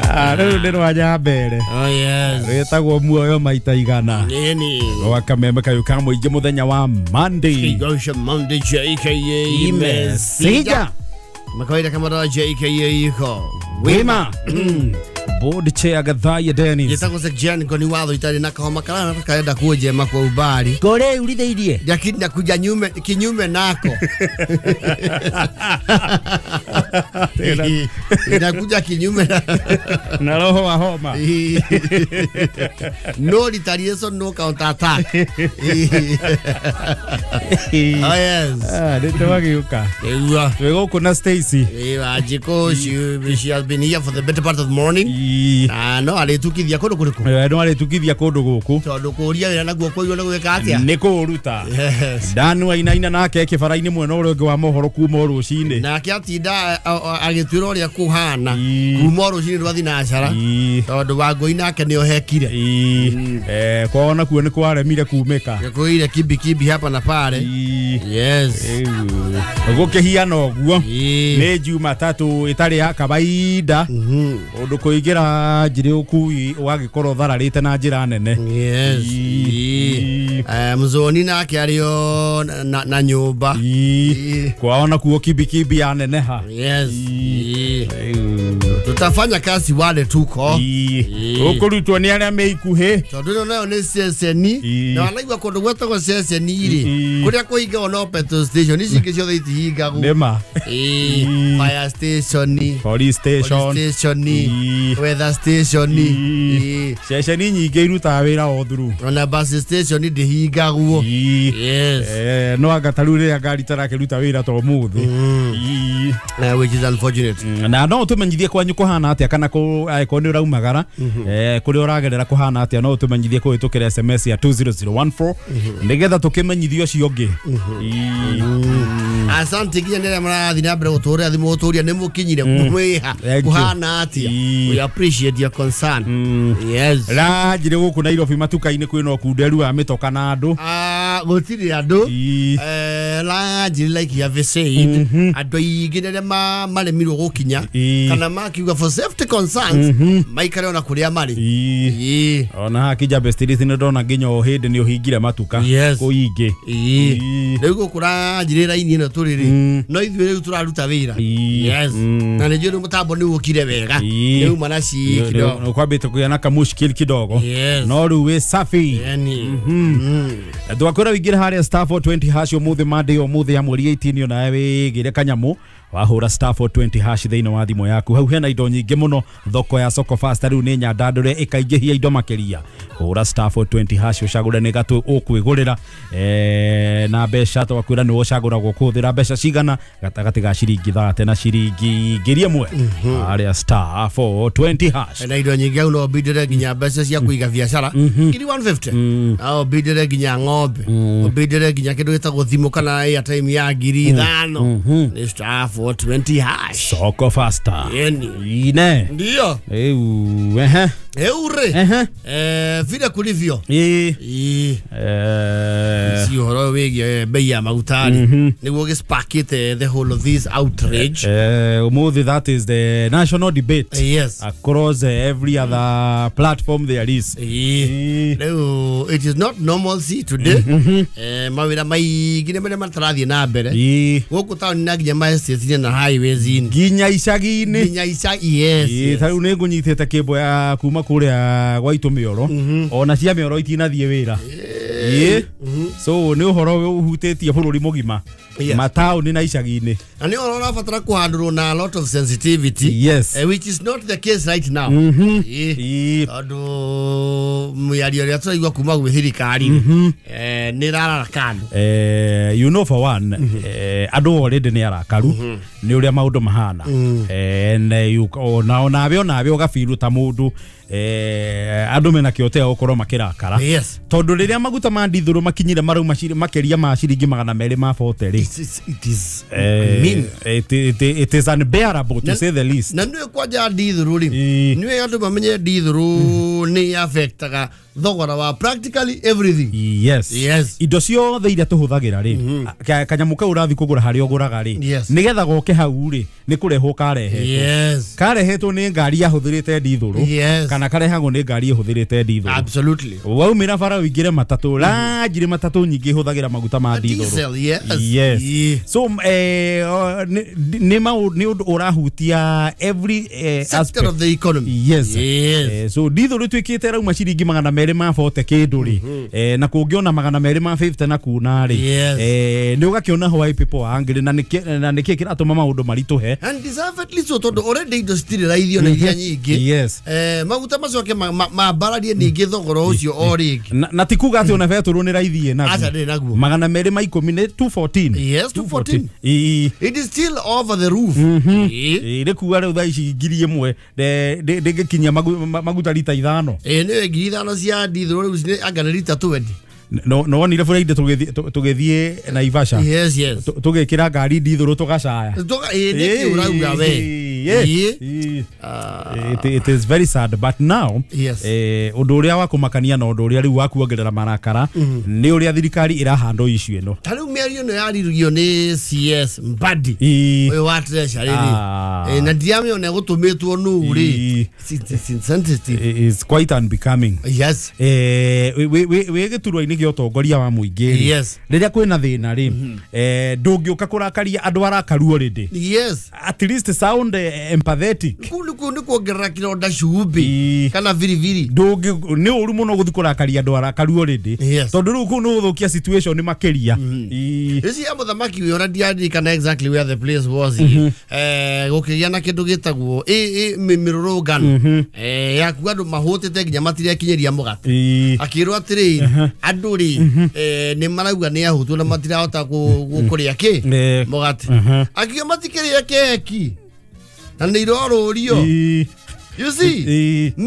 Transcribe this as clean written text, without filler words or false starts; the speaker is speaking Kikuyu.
Rĩu nĩ rwa Nyambere. Oh yes. Rwĩtagwo muoyo maita igana. Nini. Rwa kameme kayũ ka mũingĩ mũthenya wa Monday. Kigosha Monday JKA Mesija. Makawaida kama dawa JKA iko. Wima. Board chair Gathaya Dennis. Gĩtagwo Sekiani ngoni watho itarĩ na kahoma karana karenda kuonjema kwa umbali. Kore urithĩirie. Lakini nakuja nyume kinyume nako. Inakuja kinyume na roho wa homa. No retaliation, no counter attack. Oh yes. Nĩ twagĩũka. Ewa. Twĩ gũkũ na Stacy. Ewa Jiko, she has been here for the better part of the morning. No arĩtukithia kũndũ kũrĩkũ? No arĩtukithia kũndũ gũkũ. Tondũ kũria wĩra naguo kũiywo nĩ gwĩka atĩa? Nĩ kũũruta. Yes. Danu ainaina nake kĩbara-inĩ mwena ũrĩa ũngĩ wa mohoro kuma o rũcinĩ. Nake atinda agĩtuĩra ũrĩa kũhana kuma o rũcinĩ rwa thinacara. Tondũ Wangũi nake nĩ ohekire. Kwao nakuo nĩ kwaremire kumĩka. Nĩkũire kibi kibi hapa na pale. Yes. Gũkĩhiana ũguo. Nĩ Jumatatũ ĩtarĩ ya kawaida. Ũndũ kũingĩra njĩrĩ ũkui ũgagĩkorwo thararĩte na njĩra nene. Yes. Mzoni nake arĩo na nyũmba. Kwao nakuo kibi kibi ya neneha. Yes. Tutafanya kazi wale tuko. Ũkũrutwo nĩ arĩa me ikuhĩ. Tondũ ĩno nayo nĩ ceceni. Na wanaigua kũndũ gwetagwo ceceni rĩ. Kũrĩa kũhingagwo no petrol station ici ingĩ ciothe itihingagwo. Nĩma. Fire station, police station, weather station. Ceceni nyingĩ irutaga wĩra o through. Ona bus station ndĩhingagwo. Yes. No anga ta rĩu rĩrĩa ngari tarakĩruta wĩra ta ũmũthĩ. Which is unfortunate. Na no ũtũmenyithie kwanyu kũhana atĩa kana angĩkorwo nĩ ũraumagara kũrĩa ũragerera kũhana atĩa, no ũtũmenyithie kũhĩtũkĩra SMS ya 20014 nĩgetha tũkĩmenyithie ũcio ũngĩ. Asante nginya nĩ arĩa marathiĩ na mbere gũtũhũrĩra thimũ gũtũria nĩ mũkinyire mwĩha kũhana atĩa. We appreciate your concern. Yes. Ranjire gũkũ Nairobi matuka-inĩ kwĩna ũkunderu wa mĩtoka na andũ. Gũtirĩ andũ. Ranjire like you have said andũ aingĩ arĩa maremirwo gũkinya kana makiuga for safety concerns maikare ona kũrĩa marĩ. Ona haha Kijabe Street nĩ ndona nginya o hĩndĩ nĩ ũhingire matuka kũu ingĩ. Rĩu gũkũ Ranjire raini ĩno tũrĩ rĩ no ithuĩ rĩu tũraruta wĩra. Yes. Na nĩ njũĩ rĩu mũtambo nĩ ũkire wega. Rĩu mana ci kidogo. Kwambĩte kũgĩa na kamushkil kidogo. No rĩu wĩ safi. Twakwĩra ũingĩre harĩa star 420 hash ũmũthĩ Monday ũmũthĩ ya mweri 18 onawe wĩgĩre kanyamũ wahũra star 420 hash thĩinĩ wa thimũ yaku. Hau hena indo nyingĩ mũno thoko ya Soko Fast rĩu nĩ nyandandũre ĩkaingĩhia indo makĩria. Hũra star 420 hash ũcagũre nĩ gatũ ũkwĩgũrĩra na mbeca twakwĩra nĩ ũcagũragwo kũhũthĩra mbeca cigana gatagatĩ ga ciringi 30 na ciringi 1000 harĩa star 420 hash. Na indo nyingĩ hau no ũbindĩre nginya mbeca cia kũiga biacara ngiri 150. No ũbindĩre nginya ng'ombe, ũbindĩre nginya kĩndũ gĩtagwo thimũ kana airtime ya ngiri 5. Nĩ star 420 hash. Soko Faster. Yeni. Ine. Ndio. Ehe. Eure. Vile kulivyo. Si ũhoro wĩgiĩ bei ya maguta rĩ nĩguo gĩsparkĩte the whole of this outrage. Ũmũthĩ that is the national debate. Yes. Across every other platform there is. Rĩu it is not normalcy today. Mawĩra maingĩ nĩ marĩa matarathiĩ na mbere gũkũ taũni na nginya ma estate na highways nginya icagi-inĩ. Nginya icagi. Yes. Ta rĩu nĩ ngũnyitĩte kĩmbo ya kuma kũrĩa gwa itũ mĩoro ona cia mĩoro itinathiĩ wĩra. So nĩ ũhoro ũhutĩtie bũrũri mũgima mataũni na icagi-inĩ. Na nĩ ũhoro ũrabatara kũhandũrwo na a lot of sensitivity. Yes. Which is not the case right now. Tondũ mĩario ĩrĩa tũraigua kuma gwĩ thirikari nĩ ĩrarara kando. You know for one andũ already nĩ arakaru nĩ ũrĩa maũndũ mahana. Onawe onawe ũgabiru ta mũndũ andũ mena kĩotea gũkorwo makĩrakara. Yes. Tondũ rĩrĩa maguta maguta ma ndithũrũ makinyire marauma makĩria ma ciringi 240 rĩ, It is mean. It is unbearable, to say the least. Na nä kwanja ndithå rä nä andå mamenye ndithå nä affectaga thogora wa practically everything. Yes. Yes. Indo ciothe iria tũhũthagĩra rĩ, kanyamũ kau ũrathiĩ kũgũra harĩa ũgũraga rĩ, Yes. nĩgetha goke hau rĩ, nĩ kũrehwo karehetwo. Yes. Karehetwo nĩ ngari yahũthĩrĩte ndithũrũ, Yes. kana karehagwo nĩ ngari ĩhũthĩrĩte ndithũrũ. Absolutely. Waumĩra bara ũingĩre matatũ, ranjirĩ matatũ nyingĩ ihũthagĩra maguta ma ndithũrũ. Diesel, yes. Yes. Yeah. So nĩ ũndũ ũrahutia every sector aspect of the economy. Yes. Yes. So ndithũrũ ĩtuĩkĩte rauma ciringi 240 kĩndũ rĩ, na kũngĩona 250 na kuna rĩ, Yes. nĩ ũgakĩona why people are angry, na nĩkĩ kĩratũma maũndũ maritũhe. And deservedly so, tondå already indo citirä raithio na iria nyingä. Yes. Maguta macoke mambararie ningä thogora å cio o rä ngä. Na ti kuga atĩ ona betũrũ nĩ raithi ĩ Aca naguo. ndä naguo. 210 nĩ 214. Yes, 214. Ĩĩ. It is still over the roof. Ĩĩ. Ĩĩ, nĩ kuga rĩu thaa ici 1,000 ndĩngĩkinyia maguta rita 5. Ĩĩ, nä 5,000 cia ndithå rä u anga nä rita 20. No wonire bũrĩa tũgĩthiĩ Naivasha, Yes, yes. tũgĩkĩra ngari ndithũrũ tũgacaya. Ĩĩ, nä kä å rauga we. Ĩĩ. It is very sad, but now Yes. ũndũ ũrĩa wa kũmakania na ũndũ ũrĩa rĩu wa kuongerera marakara nĩ ũrĩa thirikari ĩrahandwo issue ĩno. Ta rä u mä ario ä no yarirugio nä CS Mbadi Ĩĩ. å yå wa treasury rä, Ah. na ndiramä ona gå tå mä two nå rä. Ĩĩ. Sensitive. Is quite unbecoming. Yes. Wĩ gĩturwa-inĩ gĩa ũtongoria wa mũingĩ rĩ, Yes. rĩrĩa kwĩna thĩna rĩ, ndũngĩũka kũrakaria andũ arakaru already. Yes. At least sound empathetic. Kuu nä kuongerera kä ronda cumbä Ĩĩ. kana biribiri. Ndũngĩ nĩ ũru mũno gũthiĩ kũrakaria andũ arakaru already, Yes. tondũ rĩu kũu nĩ gũthũkia situation makĩria. Ĩĩ. Ĩci ya mũthamaki wĩ ona ndiaririkana exactly where the place was, gå kä gä a na kä ndå gä tagwo mä rå rå yaku andå mahå tä te nginya matirekinyä ria må gate. Ĩĩ. Akä rwo atä rä andå rä nä marauga nä ahå na matirahota kå rä a kä må gate. Akiuga matikä rä a keki na nä irorå rio. Ĩĩ. You see. Ĩĩ.